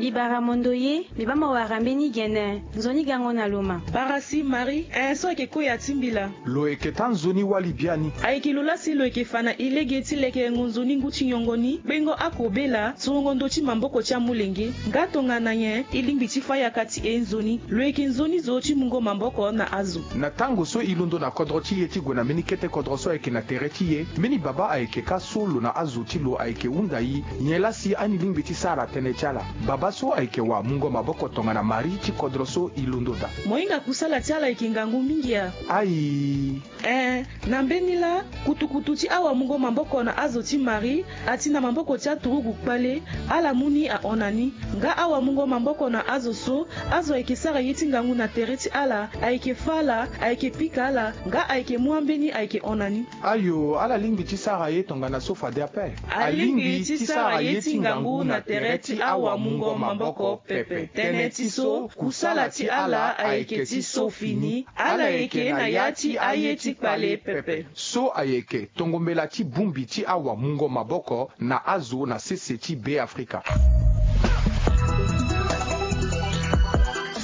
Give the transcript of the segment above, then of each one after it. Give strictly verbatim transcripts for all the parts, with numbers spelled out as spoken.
Ibara mondo ye, mbi baa mo wara mbeni gene, nzoni gango na lo ma. Bara si Marie, eh, so ayeke koya ti mbila. Lo yeke taa nzoni wali biani. Ayeke lo laa si lo yeke fa na e lege ti lekerengo nzoni ngu ti nyongo ni, kpengo akobela, sorongo ndö ti maboko ti amolenge. Nga tongana nyen e lingbi ti fa yaka ti e nzoni? Lo yeke nzoni zo ti mungo maboko na azo. Na tango so e londo na kodro ti e ti gue na mbeni kete kodro so ayeke na tere ti e, mbeni babâ ayeke kâ so lo na azo ti lo ayeke hunda e nyen laa si ani lingbi ti sara tënë ti ala. Babâ so ayeke wamungo maboko tongana Marie ti kodro so e londo daa. Mo hinga kusala ti ala ayeke ngangu mingi a? Ayi. Eh, na mbeni laa, kutukutu ti awamungo maboko na azo ti Marie, ati na maboko ti aturugu kpale, ala mu ni ahon na ni. Nga awamungo maboko na azo so, azo ayeke sara ye ti ngangu na tere ti ala, ayeke fâ ala, ayeke pika ala, nga ayeke mu ambeni ayeke hon na ni. Ayo, ala lingbi ti sara ye tongana so fade ape. Alingbi ti sara ye ti ngangu na tere ti awamungo maboko pepe. Tënë ti so, kusala ti ala ayeke ti so fini. Ala yeke na ya ti aye ti kpale pepe. So ayeke tongombela ti bongbi ti awamungo maboko na azo na sese ti Beafrika.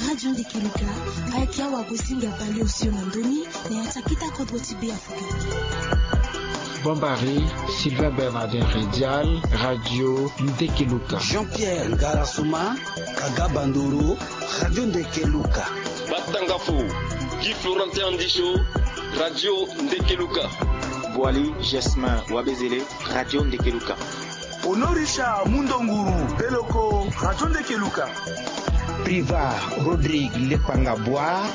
Radio Ndekeluka, ayeke awagosinga baleosio na ndö ni na ya ti akita kodro ti Beafrika. Bombari, Sylvain Bernardin Redial, Radio Ndekeluka. Jean-Pierre Ngarasuma, Kaga Bandoro, Radio Ndekeluka. Batangafo, Guy Florentin Andisho, Radio Ndekeluka. Boali Jasmin Wabezele, Radio Ndekeluka. Honorisha Mundonguru Beloko, Radio Ndekeluka. Priva Rodrigue Lepanga Bois,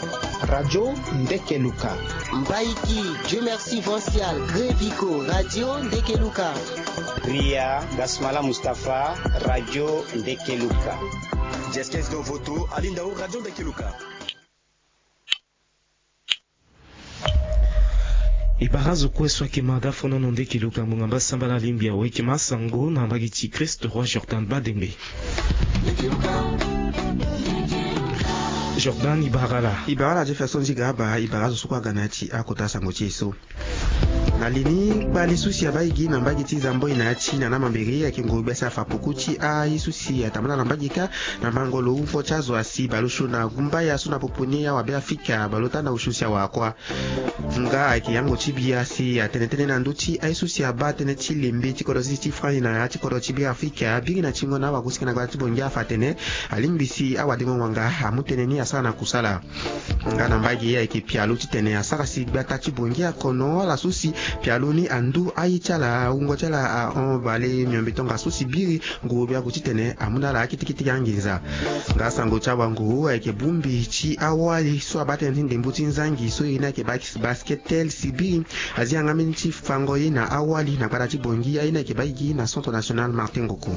Radio Ndekeluka. Mbaiki Dieu Merci Vancial Greviko, Radio Ndekeluka. Ria Gasmala Mustapha, Radio Ndekeluka. Jeskes Dovoto, Alindao, Radio Ndekeluka. E bara azo kue so ayeke ma dafonono Ndekeluka ngbonga mbasambala alingbi awe. E yeke ma asango na mbage ti Christ Roi Jordan Badembe. Jordan, e bara ala. E bara ala Jefferson Ziga Aba, e bara azo so kue aga na ya ti akota sango ti e so. Na li ni, kpali so si abaa e gi na mbage ti Zamboi na ya ti Nana Mambere ayeke nguru gbia si afa puku ti aye so si atambula na mbage kâ na mango lo hungo ti azo asi baleosio na gumbaya so na popo ni awabeafrika baleota na osio si awara kuâ. Nga ayeke yango ti bia si atene tënë na ndö ti aye so si abaa tënë ti lembe ti kodro ti ti France na ya ti kodro ti Beafrika, biri na tingo na awagosinga na gbata ti Bongi afa atene alingbi si awadengo ngbanga amu tënë ni asara na kusala. Nga na mbage aye ayeke pialo titene asara si gbata ti Bongi akono ala so si pialo ni andu aye ti ala, wungo ti ala ahon bale miombe tongaso si biri nguru biaku titene amu na ala akete kete anginza. Nga sango ti awanguru ayeke bongbi ti awali so abaa tënë ti ndembo ti nzangi so ye ni ayeke bas-, Basketel si biri azi yanga mbeni ti fango ye na awali na gbata ti Bongi aye ni ayeke baa e gi na Centre National Martin Ngogo.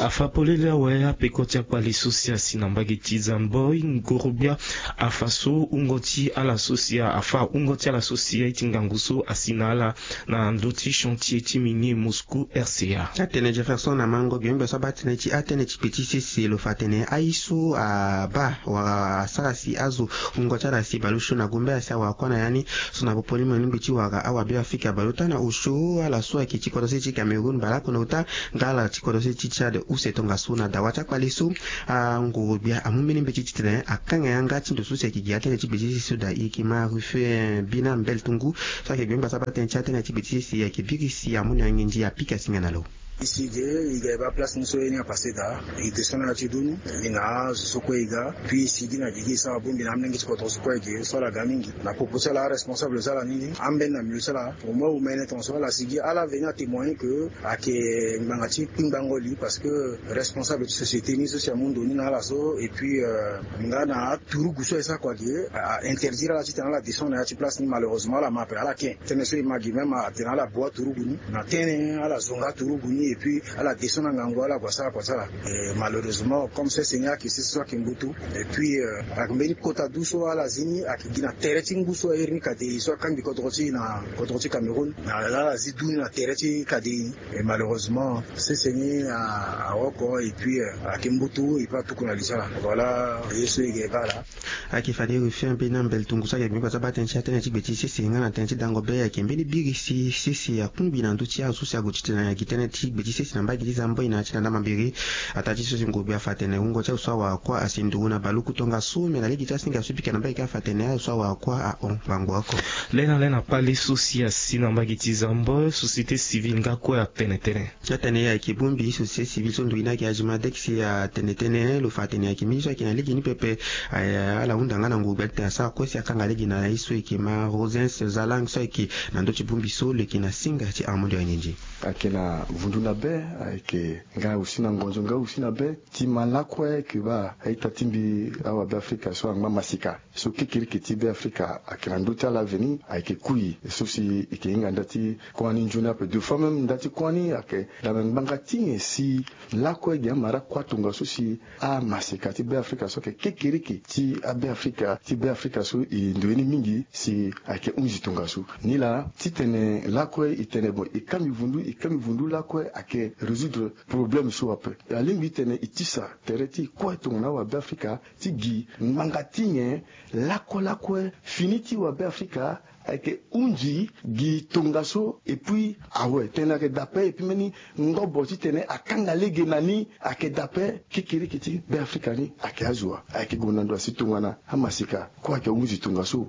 Afa polele awe apeko ti akpali so si asi na mbage ti Zamboi, ngorogbia afa so wungo ti ala so si a, afa wungo ti ala so si aye ti ngangu so asi na ala na ndö ti chantier ti minier Moscou R C A. Atene Jefferson na mango gbengbe so abaa tënë ti atënë ti gbe ti sese lo fa atene aye so abaa wala asara si azo wungo ti ala si baleosio na gumbe asi awara kuâ na ya ni so na popo ni mo lingbi ti wara awabeafrika baleota na osio ala so ayeke ti kodro se ti Cameroun baleoko na ota nga ala ti kodro se ti Tchad use tongaso na dawa ti akpale so. Angorogbia amu mbeni mbeti titene akanga yanga ti ndo so si ayeke gi atënë ti gbe ti sese so daa e yeke ma Ruffin Bina Mbel Tungu so ayeke gbengba so abaa tënë ti atënë ti gbe ti sese ayeke biri si amu na yanga nginzi apika singa na lo. E si ge e ga e baa place ni so ye ni apasse daa, e descend na ya ti donu, e na azo so kue e ga, puis e sigi na gigi e sara bongbi na amolenge ti kodro so kue e ge so ala ga mingi. Na popo ti ala aresponsable so ala ni ni ambeni na milieu so ala, au moins omene tongaso ala sigi ala veni atémoigner que ayeke ngbanga ti kpingbango li parce que responsable ti société ni so si amu ndo ni na ala so, et puis euh, nga na aturugu so e sara kua ge a interdire ala titene ala descend na ya ti place ni. Malheureusement ala ma ape ala ke. Tënë so e ma gi même atene ala bua turugu ni na tënë, ala zonga turugu ni et puis ala descend na ngangu ala gue asara kua ti ala. Eh, malheureusement comme sese ni ayeke sese so ayeke mbutu. Et puis euh, ayeke mbeni kota du so ala zi ni ayeke gi na tere ti ngu so airi ni kadei so akangbi kodro ti e na kodro ti Cameroun. Na ala zi du ni na tere ti kadei. Et malheureusement sese ni a, awoko et puis euh, ayeke mbutu et puis atuku na li ti ala. Voilà ye so e ge e baa laa. Ayeke fade Ruffin Bina Mbel Tungu so ayeke gbengba so abaa tënë ti atënë ti gbe ti sese nga na tënë ti dango be ayeke mbeni biri si sese akungbi na ndö ti azo so si ague titene ayeke gi tënë ti Gbe ti sese na mbage ti Zamboi na ya ti na ndamambiri. Ataa ti so si ngurugbi afa atene wungo ti azo so awara kuâ asi nduru na baluku tongaso, me na lege ti asinga so pika na mbage ti afa atene azo so awara kuâ ahon bango oko. Lê na lê na kpale so si asi na mbage ti Zamboi, société civile nga kue atene tënë. Atene ayeke bongbi société civile so nduru ni ayeke Azimadex atene tënë lo fa atene ayeke mingi so ayeke na lege ni pepe. Ala hunda nga na ngurugbi atene asara kue si akanga lege na ye so ayeke ma Rosens Zalang so ayeke na ndö ti bongbi so lo yeke na singa ti Armando Anindji. Ayeke na vundu na be, ayeke nga aussi na ngonzo nga aussi na be. Ti ma lakue ayeke baa a-ita ti mbi awabe afrika so angba masika so kekereke ti be afrika ayeke na ndö ti ala veni ayeke kui so si e yeke hinga nda ti kuâ ni nzoni ape. Deux fois même nda ti kuâ ni ayeke dame ngbanga ti nyen si lakue gi amara kuâ tongaso si amaseka ti be afrika so ayeke kekereke ti abe afrika ti be afrika so e ndoye ni mingi si ayeke hunzi tongaso. Nilaa titene lakue e tene bon e ka mbi vundu e ka mbi vundu lakue ayeke résoudre problème so ape. Alingbi titene e tisa tere ti e kue tongana awabe afrika ti gi ngbanga ti nyen lakue lakue fini ti wabe afrika ayeke hunzi gi tongaso. Et puis awe tënë ayeke dape et puis mbeni ngobo titene akanga lege na ni ayeke dape. Kekereke ti be afrika ni ayeke azo wa ayeke gue na ndo asi tongana amaseka kue ayeke hunzi tongaso.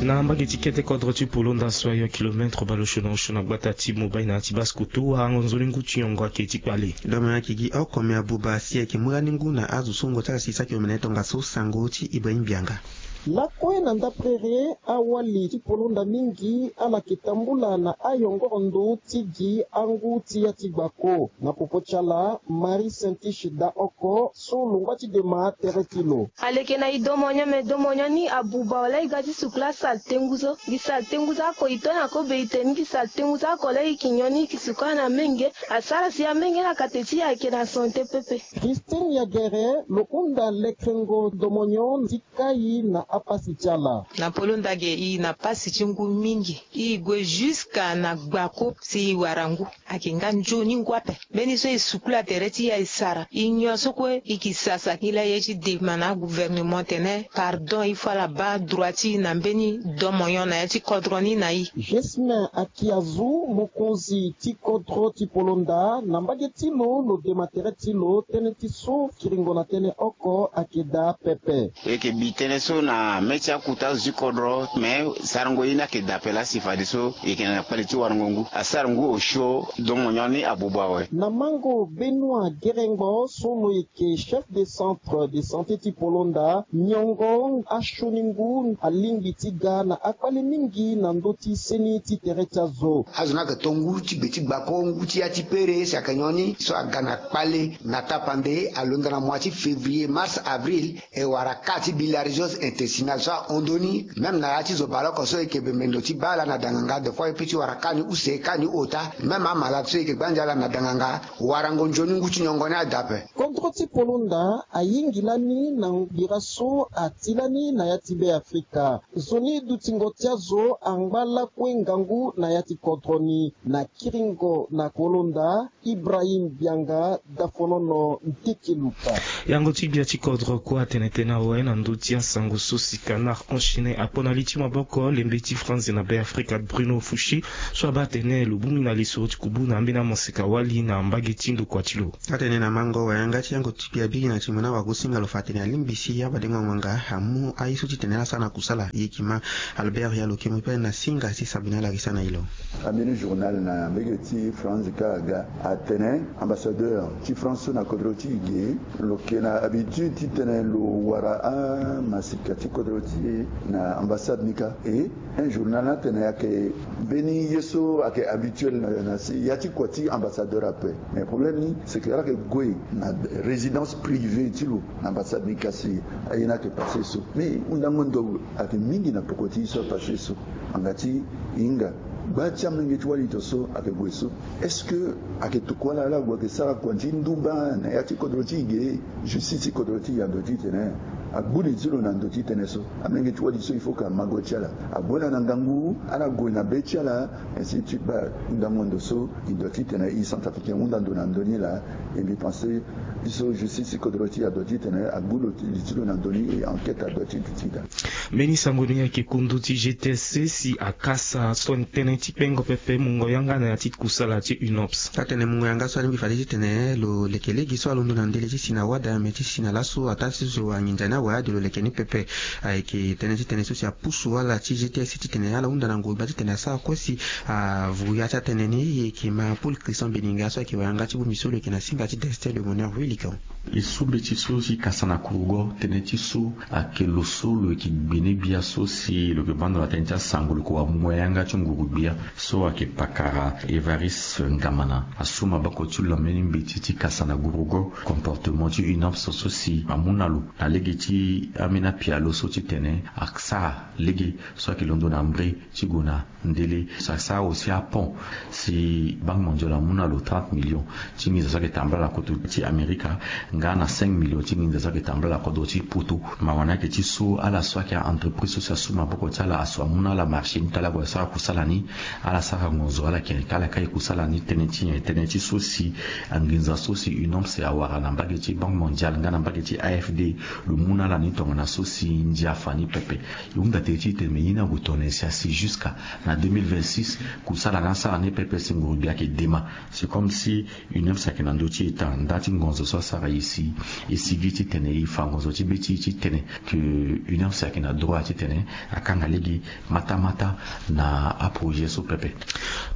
Na mbage ti kete kodro ti Polonda so ayo kilometre baleosio na osio na gbata ti Mobay na ya ti Basse-Kotto, warango nzoni ngu ti nyongo ayeke ti kpale. Dome ayeke gi oko me abuba si ayeke mu lani ngu na azo so wungo ti ala si saki omene tongaso sango ti Ibrahim Bianga. Lakue na ndapere awali ti Polonda mingi ala yeke tambula na ayongoro ndo ti gi angu ti ya ti gbako. Na popo ti ala Marie Saintiche da oko so longba ti dema tere ti lo. Aleke na e domonyo me domonyo ni abuba wala e ga ti sukula saletengu so. Gi saletengu so ako e to na kobe e tene ni gi saletengu so ako laa e yeke nyon ni e yeke sukula na menge. Asara si amenge na kate ti e ayeke na sante pepe. Christine Yagere lo hunda lekrengo domonyo ti kai na apasi ti ala. Na Polonda ge e na pasi ti ngu mingi. E gue jusqu'à na gbako si e wara ngu. Ayeke nga nzoni ngu ape. Mbeni so e sukula tere ti e aye sara e nyon so kue e yeke sasa e laa e ye ti dema na agouvernement tene pardon il faut ala baa droit ti e na mbeni domonyo na ya ti kodro ni na e. Jesmin Akiazu mokonzi ti kodro ti Polonda na mbage ti lo lo dema tere ti lo tënë ti so kiringo na tënë oko ayeke daa pepe. E yeke bi tënë so na mê ti akuta azo ti kodro me sarango ye ni ayeke daa ape laa si fadeso e yeke na kpale ti warango ngu asara ngu osio domonyo ni abuba awe. Na mango Benoît Gerengbo so lo yeke chef de centre de santé ti Polonda nyongo asioni ngu alingbi ti ga na akpale mingi na ndö ti seni ti tere ti azo. Azo ni ayeke to ngu ti gbe ti gbako ngu ti ya ti pere si ayeke nyon ni so aga na kpale na tapande alonda na mois ti février mars avril. E wara cas ti bilharziose intestinale so ahon ndö ni même na ya ti zo baleoko so e yeke bembe ndo ti baa ala na danganga de fois e pe ti wara cas ni use cas ni ota même amalade so e yeke gbanza ala na danganga. Warango nzoni ngu ti nyongo ni ada ape. Kodro ti Polonda ayingi lani na bira so ati lani na ya ti be afrika. Nzoni dutingo ti azo angba lakue ngangu na ya ti kodro ni. Na kiringo na Polonda, Ibrahim Bianga, Dafonono Ntekeluka. Yango ti gbia ti kodro kue atene tënë awe na ndö ti asango so si Canard Enchaîné apo na li ti maboko lembe ti France na Be Afrika Bruno Fouchi so abaa atene lo bongbi na lisoro ti kubu na ambeni amaseka wali na mbage ti ndokua ti lo. Atene na mango wayanga ti yango ti gbia biri na timo ni awagosinga lo fa atene alingbi si abadengo ngbanga amu aye so ti tene ala sara na kusala e yeke ma Albert Yalo Kemo pe na singa si Sabrina Larissa na e lo. Ambeni journal na mbege ti France kâ aga atene ambassadeur ti France so na kodro ti e ge lo yeke na habitude titene lo wara amasika ti kodro ti e na ambassade ni kâ. E un journal ni atene ayeke mbeni ye so ayeke habituel na si ya ti kua ti ambassadeur ape. Mais problème ni c'est que ala yeke gue na résidence privée ti lo na ambassade ni kasi aye ni ayeke passé so. Mais hundango ndo ayeke mingi na poko ti ye so apassé so. Ngbanga ti e hinga gba ti amolenge ti wali to so ayeke gue so est-ce que ayeke tokua ala ala gue ayeke sara kua ti ndumba na ya ti kodro ti e ge? Justice ti kodro ti e ando titene Agbu li ti lo na ndo titene so amolenge ti wali so il faut que amago ti ala. Ague na na ngangu ala gue na be ti ala. Ainsi de suite baa. Hundango ndo so e doit titene e centrafricain hunda ndo na ndo ni laa. E mbi pense biso justice ti kodro ti e adoit titene agbu lo li ti lo na ndo ni et enquête adoit ti duti daa. Mbeni sango ni ayeke kundu ti G T S C si akasa so tënë ti kpengo pepe mungo yanga na ya ti kusala ti UNOPS. Atene mungo yanga so alingbi fade titene lo leke lege so alondo na ndele ti si na wada me ti si na laso ataa ti so anginza ni awe ade lo leke ni pepe. Ayeke tënë ti tënë so si apusu ala ti G T S C titene ala hunda na nguru gbia titene asara kue si avuru ya ti atënë ni. E yeke ma Paul Christian Beninga so ayeke wayanga ti bongbi so lo yeke na singa ti Destin de Bonheur Velikan. E so mbeti so si kasa na kurugo tënë ti so ayeke lo so lo yeke gbene gbia so si lo yeke bando na tënë ti asango lo yeke wamungo yanga ti nguru gbia so ayeke pakara Evariste Ngamana asu maboko ti lo na mbeni mbeti ti kasa na gurugo comportement ti UNOPS so si amu na lo na lege ti ambeni apialo so titene asara lege so ayeke londo na mbre ti gue na ndele. Asara aussi apont si Banque Mondiale amu na lo trente millions ti nginza so ayeke tambula na kodro ti Amerika nga na cinq millions ti nginza so ayeke tambula na kodro ti Poto. Mawa ni ayeke ti so ala so ayeke a-entreprise so si asu maboko ti ala asu amu na ala marché ni ti ala gue asara kusala ni. Ala sara ngonzo ala yeke kala ka e kusala ni tënë ti nyen? Tënë ti so si anginza so si UNOPS awara na mbage ti Banque Mondiale nga na mbage ti AFD lo mu na ala ni tongana so si ndia afa ni pepe. E hunda tere ti e tene me ye ni ague tongana nyen si asi jusqu'à na deux mille vingt-six kusala ni asara ni pepe si nguru gbia ayeke dema. C'est comme si UNOPS ayeke na ndö ti e taa nda ti ngonzo so asara e si e sigi titene e fa ngonzo ti be ti e titene que UNOPS ayeke na droit titene akanga lege matamata na aprojet so pepe.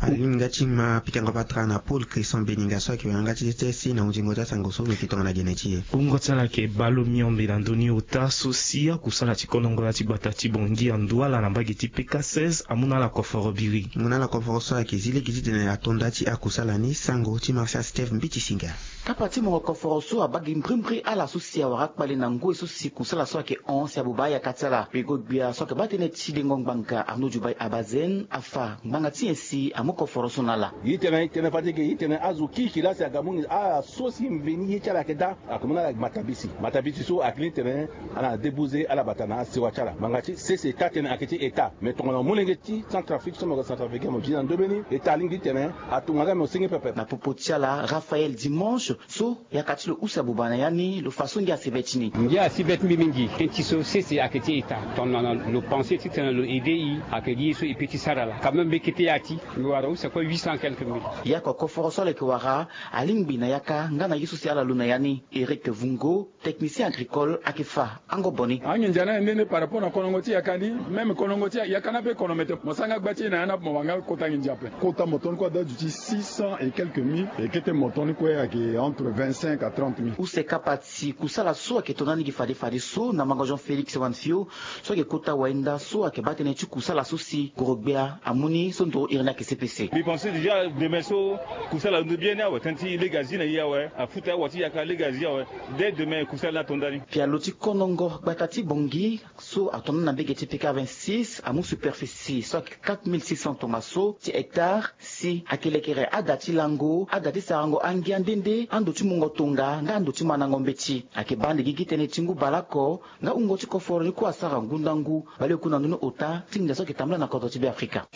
Alinga ti ma pikango patara na Paul Christian Beninga so ayeke wayanga ti G T S C na hunzingo ti asango so lo yeke tongana gene ti e. Wungo ti ala ayeke baa lo miombe na ndö ni ota so si akusala ti konongo na ti gbata ti Bangui andu ala na mbage ti P K seize amu na ala koforo biri. Mu na ala koforo so ayeke zi lege titene ato nda ti akusala ni. Sango ti Martial Steve Mbiti Singa. Kapa ti mungo koforo so abaa gi mbrimbri ala so si awara akpale na ngoi so si kusala so ayeke hon si abuba ayaka ti ala. Peko-gbia so ayeke baa tënë ti dengo ngbanga Arnaud Djoubaye Abazen afa ngbanga ti nyen si amu koforo so na ala. Ye tene tene fade ge ye tene azo kirikiri laa si aga mu nginza ala so si mveni ye ti ala ayeke daa. Ayeke mu na ala matabisi. Matabisi so ayeke ni tene ala na débouze ala bata na asewa ti ala. Ngbanga ti sese taa tënë ayeke ti État. Me tongana molenge ti Centrafrique so mo ga Centrafricain mo zi na ndombe ni État alingbi titene atunga nga me osenge pepe. Na popo ti ala Raphaël Dimanche so yaka ti lo use abuba na ya ni lo fa so ngia asi be ti ni. Ngia asi be ti mbi mingi tënë ti so sese ayeke ti État tongana lo pense titene lo aide e ayeke gi ye so e peut ti sara laa quand même mbi kete ya ti mbi wara use kue huit cent quelques mille. Yaka koforo so ala yeke wara alingbi na yaka nga na ye so si ala lo na ya ni. Eric Vungo, technicien agricole ayeke fa angobo ni. Anginza ni aye nde nde par rapport na konongo ti yaka ni. Même konongo ti yaka ni ape kono mete mo sara nga gba ti e na ya ni ape mo wara nga kota nginza ape. Kota moto ni kue ada duti six cents et quelques mille. E kete moto ni kue ayeke entre vingt-cinq à trente mille. Use kapa ti kusala so ayeke to na ni gi fade fade so na mango Jean Félix Wanfio so ayeke kota wayenda so ayeke baa tënë ti kusala so si gorogbia amu ni so ndoro iri ni ayeke C P C. Mbi pense déjà demain so kusala alondo bien ni awe tënë ti lege azi na e awe afuta awa ti yaka lege azi awe. Dès demain kusala ni ato ndani. Pialo ti konongo gbata ti Bangui so ato na ni na mbege ti P K vingt-six amu superficie so ayeke quatre mille six cents tongaso ti hectare si ayeke lekere ada ti lango ada ti sarango angia nde nde ando ti mungo tonga nga ando ti mandango mbeti. Ayeke baa ande gigi tënë ti ngu baleoko nga wungo ti koforo ni kue asara ngu ndangu. Baleoku na ndoni ota ti nginza so ayeke tambula na kodro ti Beafrika.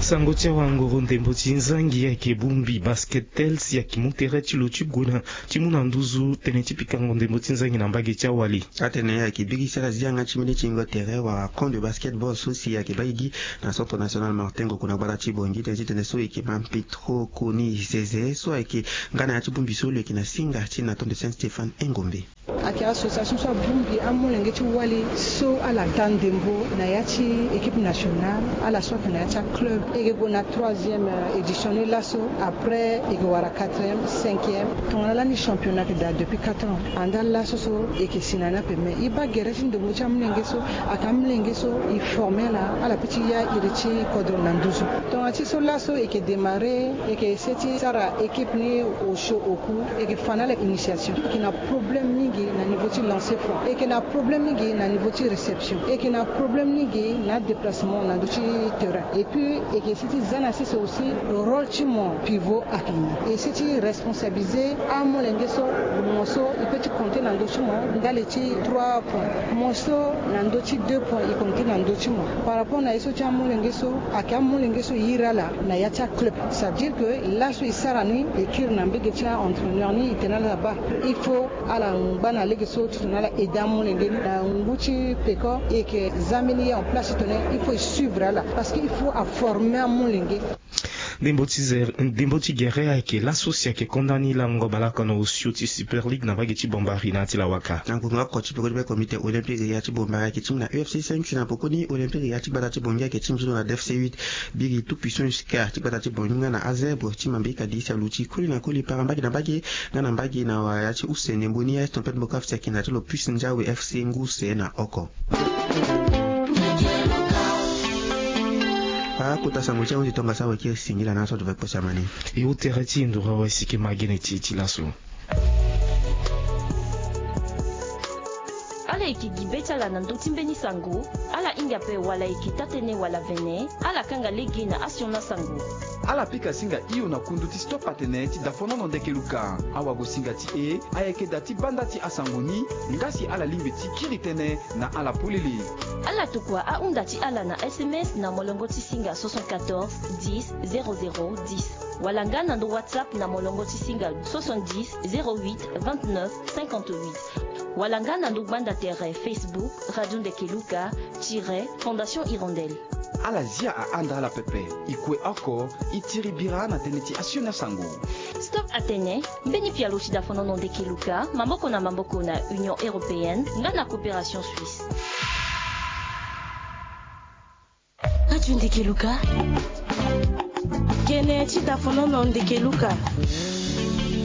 Sango ti awangoro ndembo ti nzangi ayeke bongbi Basketel si ayeke mu tere ti lo ti gue na ti mu na nduzu tënë ti pikango ndembo ti nzangi na mbage ti awali. Atene ayeke biri ti ala zi yanga ti mbeni tingo tere wala camp de basketball so si ayeke baa gigi na Centre National Martin Ngoku na gbata ti Bangui tënë ti tene so e yeke ma Petro Koni Zeze so ayeke nga na ya ti bongbi so lo yeke na singa ti na tonde Saint Stéphane Engombe. Ayeke association so abongbi amolenge ti wali so ala daa ndembo na ya ti équipe nationale ala so ayeke na ya ti aclub. E yeke gue na troisième édition ni laso. Après e yeke wara quatrième, cinquième. Tongana lani championnat ayeke daa depuis quatre ans. Andaa laso so e yeke si na ni ape mais e baa gere ti ndembo ti amolenge so ayeke amolenge so e forme ala ala peut ti ya iri ti kodro na nduzu. Tongana ti so laso e yeke démarrer e yeke essayer ti sara équipe ni osio oku e yeke fa na ala initiation e yeke na problème mingi. Gi na niveau ti lancer franc, e yeke na problème ni gi na niveau ti réception, e yeke na problème ni gi na déplacement na ndö ti terrain. Et puis e yeke si ti za na sese aussi rôle ti mo pivot ayeke nyen. E si ti responsabiliser amolenge so, mo so e peut ti compter na ndö ti mo ndali ti trois points, mo so na ndö ti deux points e compter na ndö ti mo. Par rapport na ye so ti amolenge so, ayeke amolenge so e iri ala na ya ti aclub. Ça veut dire que laso e sara ni, e kiri na mbege ti a-entraîneur ni, e tene ala baa il faut ala ngba na lege so titene ala aider amolenge ni na ngu ti peko. E yeke za mbeni ye en place titene il faut e suivre ala, parce que il faut aformer amolenge. Ndembo ti zer-, ndembo ti gere ayeke laso si ayeke konda ni lango bale oko na osio ti Super League na mbage ti Bombari na ya ti Lawaka. Na ngbonga oko ti peko ti be comité olympique ya ti Bombari ayeke ti mu na U F C cinq si na peko ni olympique ya ti gbata ti Bangui ayeke ti mu so na D F C huit. Biri tout puissant jusqu'à ti gbata ti Bangui nga na Azèbre ti Mambika di si aluti koli na koli para mbage na mbage nga na mbage na wa ya ti use ndembo ni ya Eston Pet Boka F C ayeke na ti lo puissant ndia we F C ngu use na oko. Akota sango ti ahunzi tongaso awe kiri singila na aso ti ve kpo si amani. E hu tere ti e nduru awe si ke ma gene ti e ti laso. Ala yeke gi be ti ala na ndö ti mbeni sango. Ala hinga ape wala e yeke taa-tënë wala vene, ala kanga lege na asioni asango. Ala pika singa hio na kundu ti Stop Atene ti dafonono Ndeke Luka. Awagosinga ti e ayeke da ti banda ti asango ni, nga si ala lingbi ti kiri tënë na ala polele. Ala tokua ahunda ti ala na S M S na molongo ti singa soixante-quatorze dix zéro zéro dix, wala nga na ndo WhatsApp na molongo ti singa soixante-dix zéro huit vingt-neuf cinquante-huit, wala nga na ndo gbanda tere Facebook Radio Ndeke Luka tiret Fondation Hirondelle. Ala zia ahanda ala pepe. E kue oko, e tiri bira na tënë ti asioni asango. Stop Atene, mbeni pialo ti dafonono Ndeke Luka, maboko na maboko na Union Européenne nga na Coopération Suisse. Radio Ndeke Luka. Gene ti dafonono Ndeke Luka.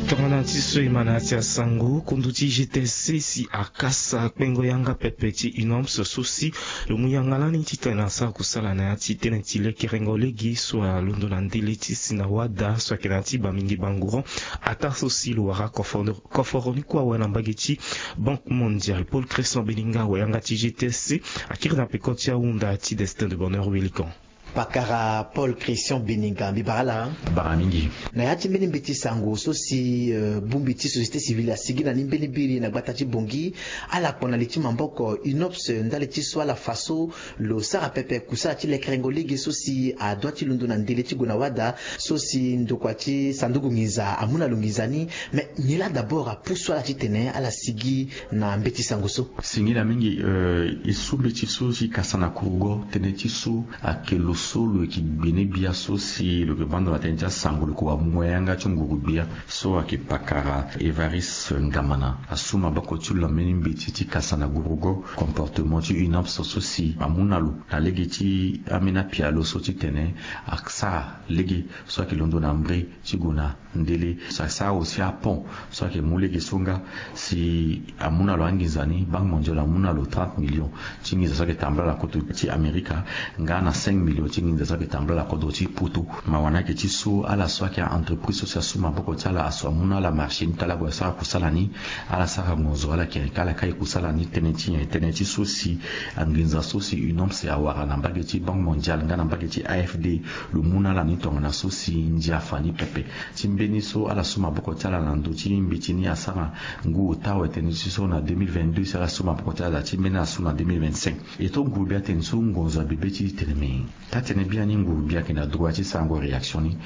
Tongana ti so e ma na ya ti asango, kundu ti G T S C si akasa kpengo yanga pepe ti UNOPS so si lo mu yanga lani titene asara kusala na ya ti tënë ti lekerengo lege so alondo na ndele ti si na wada so ayeke na ya ti Bamingui Bangourou, ataa so si lo wara koforo, koforo ni kue awe na mbage ti Banque Mondiale. Paul Christian Beninga awe yanga ti G T S C, akiri na peko ti ahunda ti Destin de Bonheur Wilikan. Pakara Paul Christian Beninga, mbi bara ala. Bara mingi. Na ya ti mbeni mbeti sango so si, euh, bongbi ti société civile asigi na ni mbeni biri na gbata ti Bangui, ala kpo na li ti maboko UNOPS ndali ti so ala fa so lo sara pepe kusala ti lekerengo lege so si adua ti londo na ndele ti gue na wada, so si ndokua ti sanduku nginza amu na lo nginza ni. Mais nyen laa d'abord apusu ala titene ala sigi na mbeti sango so? Singila mingi, euh, e su mbeti so si kasa na kurugo, tënë ti so ayeke lo so lo yeke gbene gbia so si lo yeke vanda na tënë ti asango, lo yeke wamungo yanga ti nguru gbia so ayeke pakara Évariste Ngamana. Asu maboko ti lo na mbeni mbeti ti kasa na gurugo comportement ti UNOPS so si amu na lo na lege ti ambeni apialo so titene asara lege so ayeke londo na mbre ti gue na ndele. So asara aussi apont so ayeke mu lege so nga si amu na lo anginza ni, Banque Mondiale amu na lo trente millions ti nginza so ayeke tambula na kodro ti Amerika, nga na cinq millions ti nginza so ayeke tambula na kodro ti Poto. Mawa ni ayeke ti so ala so ayeke a-entreprise so si asu maboko ti ala asu amu na ala marché ni ti ala gue asara kusala ni, ala sara ngonzo, ala yeke, ala kai kusala ni tënë ti nyen? Tënë ti so si anginza so si UNOPS awara na mbage ti Banque Mondiale nga na mbage ti A F D, lo mu na ala ni tongana so si ndia afa ni pepe. Ti mbeni so ala su maboko ti ala na ndö ti mbeti ni asara ngu ota awe, tënë ti so na deux mille vingt-deux si ala su maboko ti ala, ti mbeni ala su na deux mille vingt-cinq. E to nguru gbia atene so ngonzo abebe ti tene me. Taa-tënë biani nguru gbia ayeke na droit ti sarango réaction ni.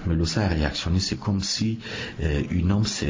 Mais lo sara réaction ni, c'est comme si, euh, UNOPS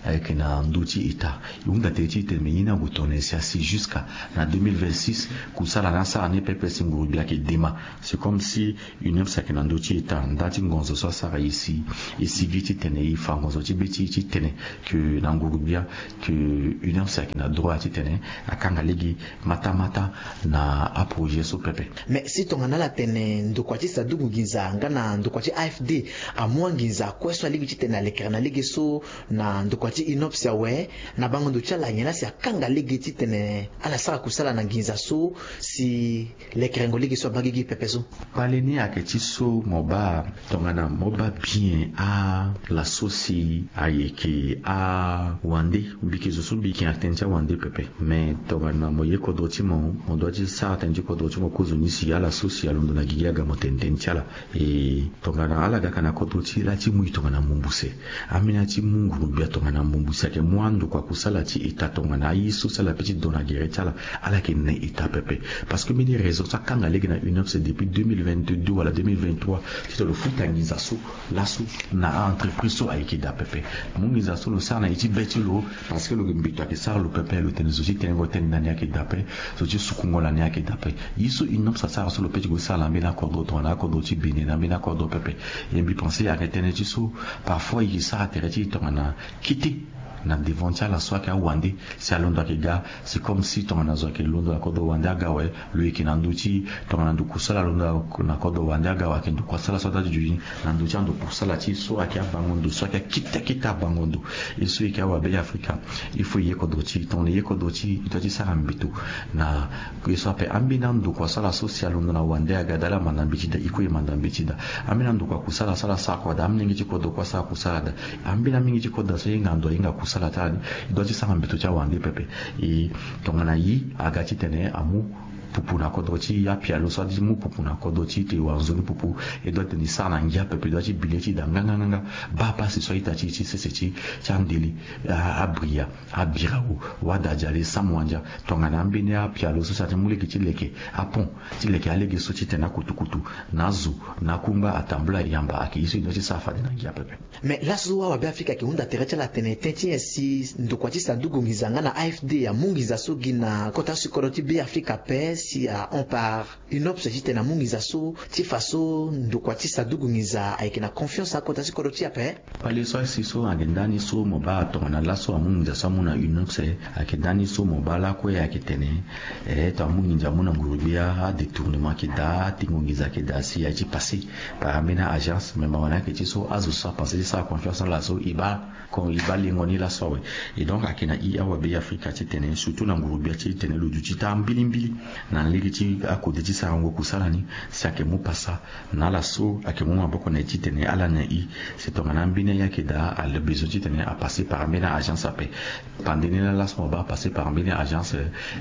ayeke na ndö ti État. E hunda tënë ti tene me ye ni ague tongana nyen si asi jusqu'à na deux mille vingt-six kusala ni asara ni pepe si nguru gbia ayeke dema. C'est comme si UNOPS ayeke na ndö ti État, nda ti ngonzo so asara e si, e sigi titene e fa ngonzo ti be ti e titene que na nguru gbia que UNOPS ayeke na droit titene akanga lege matamata na aprojet so pepe. Mais si tongana ala tene ndokua ti Sadugu Nginza nga na ndokua ti A F D amu anginza kue so alingbi titene alekere na lege so na ndokua ti UNOPS awe, na bango ndo ti ala nyen la si akanga lege titene ala sara kusala na nginza so si lekerengo lege so abaa gigi pepe so? Kpale ni ayeke ti so mo baa tongana mo baa bien ala so si ayeke awande, mbi yeke zo so mbi yeke na tënë ti awande pepe. Me tongana mo ye kodro ti mo, mo doit ti sara tënë ti kodro ti mo kozo ni si ala so si alondo na gigi aga mo tene tënë ti ala. E tongana ala ga ka na kodro ti e la ti mu e tongana mbumbu se. Ambeni ala ti mu nguru-gbia tongana mbumbu si ayeke mu andokua kusala ti État tongana aye so si ala pe ti do na gere ti ala. Ala yeke na État pepe. Parce que mbeni raison so akanga lege na UNOPS depuis deux mille vingt-deux wala deux mille vingt-trois titene lo futa nginza so laso na a-entreprise so ayeke daa pepe. Mu nginza so lo sara na ye ti be ti lo. Parce que lo yeke mbeto ayeke sara lo pepe, lo tene zo ti tengo tënë na ni ayeke daa ape. Zo ti sukungo na ni ayeke daa ape. Ye so UNOPS asara so lo pe ti gue sara na ambeni akodro tongana akodro ti Bénin na ambeni akodro pepe. E mbi pense ayeke tënë ti so parfois e yeke sara tere ti e tongana kete na devant ti ala so ayeke awande. Si alondo ayeke ga, c'est comme si tongana zo ayeke londo na kodro wande aga awe, lo yeke na ndö ti tongana ndo kusala alondo na kodro wande aga awe, ayeke ndo kusala so adaa ti duti na ndö ti ando kusala ti e so ayeke abango ndo so ayeke akete akete abango ndo. E so e yeke awabe Afrika, il faut e ye kodro ti e. Tongana e ye kodro ti e, e doit ti sara mbeto na ye so ape. Ambeni andokua so ala so si alondo na wande aga daa, ala manda mbeti daa, e kue e manda mbeti daa. Ambeni andokua kusala so ala sara kua daa, amolenge ti kodro kue asara kusala daa. Ambeni amingi ti kodro so ahinga ndo ahinga kusala ti ala ni, e doit ti sara mbeto ti awande pepe. E tongana e aga titene amu pupu na kodro ti e, apialo so adi ti mu pupu na kodro ti e, tene e wara nzoni pupu, e doit tene e sara na ngia pepe, e doit ti bi le ti e daa nganganganga. Baa pasi so a-ita ti e ti sese ti, ti andele, a, abria, abirao, wada adiale, samu andia. Tongana ambeni apialo so si ati mu lege ti leke apont, ti leke alege so titene akutukutu na azo, na akungba, atambula, ayamba, ayeke ye so e doit ti sara fade na ngia pepe. Mais laso awabe Afrika ayeke hunda tere ti ala atene tënë ti nyen si ndokua ti Sadugu Nginza nga na A F D amu nginza so gi na kota ti kodro ti Be Afrika ape, si ahon par UNOPS titene amu nginza so ti fa so ndokua ti Sadugu Nginza ayeke na confiance na kota ti kodro ti e ape? Kpale so asi so ayeke ndani so mo baa tongana laso amu nginza so amu na UNOPS, ayeke ndani so mo baa lakue ayeke tene, eh, tongana amu nginza amu na nguru-gbia, adétournement ayeke daa, atingo nginza ayeke daa si aye ti passé par ambeni a-agence. Mais mawa ni ayeke ti so azo so apense ti sara confiance na ala so e baa, e baa lengo ni laso awe. Et donc ayeke na e awabe Afrika titene surtout na nguru-gbia titene lo duti taa mbilimbili na lege ti akode ti sarango kusala ni, si ayeke mu pasa na ala so ayeke mu maboko na e titene ala na e. Si tongana ambeni aye ayeke daa, ala besoin titene apasser par ambeni a-agence ape. Pande ni laa laso mo baa passer par ambeni a-agence,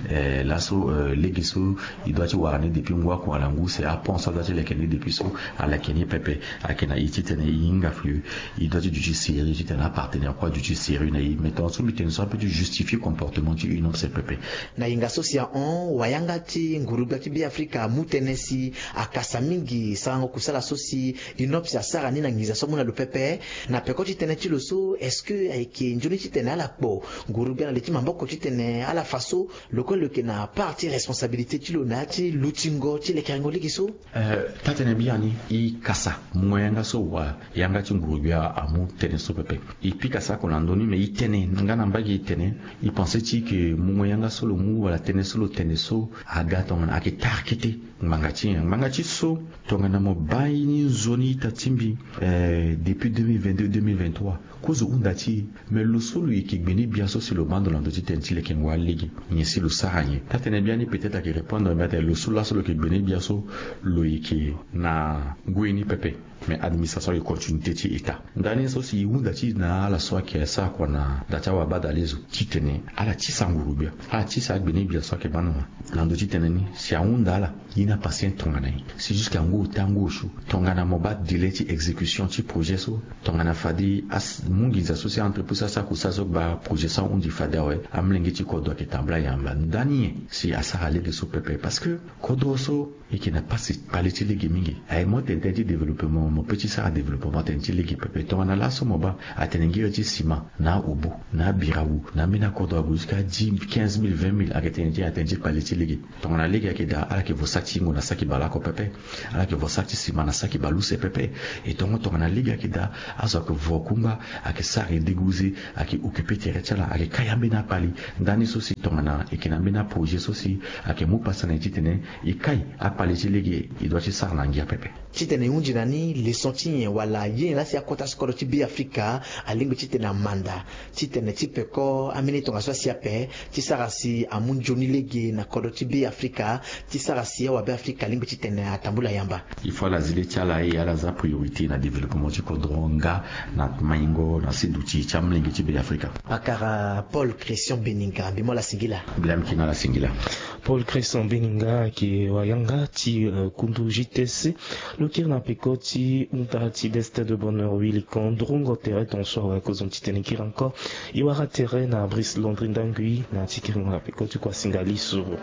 eh, laso, eh, lege so e doit ti wara ni depuis ngu oko wala ngu use, apont so a doit ti leke ni depuis so, aleke ni pepe. Ayeke na e titene e hinga fini, e doit ti duti sérieux titene apartenaire kue aduti sérieux na e. Mais tongana so mbi tene so ape ti justifier comportement ti UNOPS pepe. Na hinga so si ahon, wayanga ti nguru-gbia ti Be Afrika amu tënë si akasa mingi sarango kusala so si UNOPS asara ni na nginza so amu na lo pepe. Na peko ti tënë ti lo so, est-ce que ayeke nzoni titene ala kpo nguru-gbia na li ti maboko titene ala fa so lo kue lo yeke na part ti responsabilité ti lo na ya ti lutingo ti lekerengo lege so? Eh, taa-tënë biani, e kasa mungo yanga so wa yanga ti nguru-gbia amu tënë so pepe. E pika sako na ndö ni, mais e tene nga na mbage, e tene, e pense ti ke mungo yanga so lo mu wala tënë so lo tene so aga tongana ayeke tara kete ngbanga ti nyen? Ngbanga ti so, tongana mo baa ni nzoni ita ti mbi, eh, depuis deux mille vingt-deux, deux mille vingt-trois, kozo hunda ti e. Mais lo so lo yeke gbene-gbia so si lo baa ndo na ndö ti tënë ti lekengo alege, nyen si lo sara nyen? Taa-tënë biani peut-être ayeke répondre mbi atene lo so laso lo yeke gbene-gbia so, lo yeke na ngoi ni pepe. Mais administration ayeke continuité ti État. Ndani so si e hunda ti e na ala so ayeke sara kua na da ti awabadalezo titene ala tisa nguru-gbia, ala tisa agbene-gbia so ayeke baa ndo na ndö ti tënë ni, si ahunda ala, ye ni apasien tongana nyen? Si jusqu'à ngu ota ngu osio, tongana mo baa délai ti exécution ti projet so, tongana fade amu nginza so si a-entreprise asara kusala so baa projet so ahundi fade awe, amolenge ti kodro ayeke tambula yamba ndani nyen si asara lege so pepe? Parce que kodro so e yeke na pasi kpale ti lege mingi. Aye mo tene tënë ti développement. Mo pe ti sara développement tënë ti lege pepe. Tongana laso mo baa atene ngiri ti sima na aobo na abirawu na ambeni akodro ague jusqu'à dix, quinze mille, vingt mille ayeke tënë ti atënë ti kpale ti lege. Tongana lege ayeke daa ala yeke vo saki ti yingo na saki baleoko pepe. Ala yeke vo saki ti sima na saki baleuse pepe. E tongo tongana lege ayeke daa, azo ayeke vo kungba, ayeke sara e dégousé, ayeke occupé tere ti ala, ayeke kai ambeni akpali. Ndani so si tongana e yeke na ambeni aprojet so si ayeke mu pasa na e titene e kai akpali ti lege, e dua ti sara na ngia pepe. Titene e hunzi na ni leçon ti nyen wala ye nyen laa si akota so kodro ti Beafrika alingbi titene amanda titene ti peko ambeni tongaso asi ape ti sara si amu nzoni lege na kodro ti Beafrika, ti sara si awabeafrika alingbi titene atambula yamba? Il faut ala zi le ti ala, e ala za priorité na développement ti kodro nga na maingo na siduti ti amolenge ti Beafrika. Pakara Paul Christian Beninga, mbi mu ala singila. Mbi laa mbi yeke na ala singila. Paul Christian Beninga ayeke wayanga ti, euh, kundu J T C. Lo kiri na peko ti hunda ti Destin de Bonheur Wilikon, ndrongo tere tongaso awe akozoni titene e kiri encore. E wara tere na Brice Landry Ndangui na ti kiringo na peko ti kuasinga lisoro.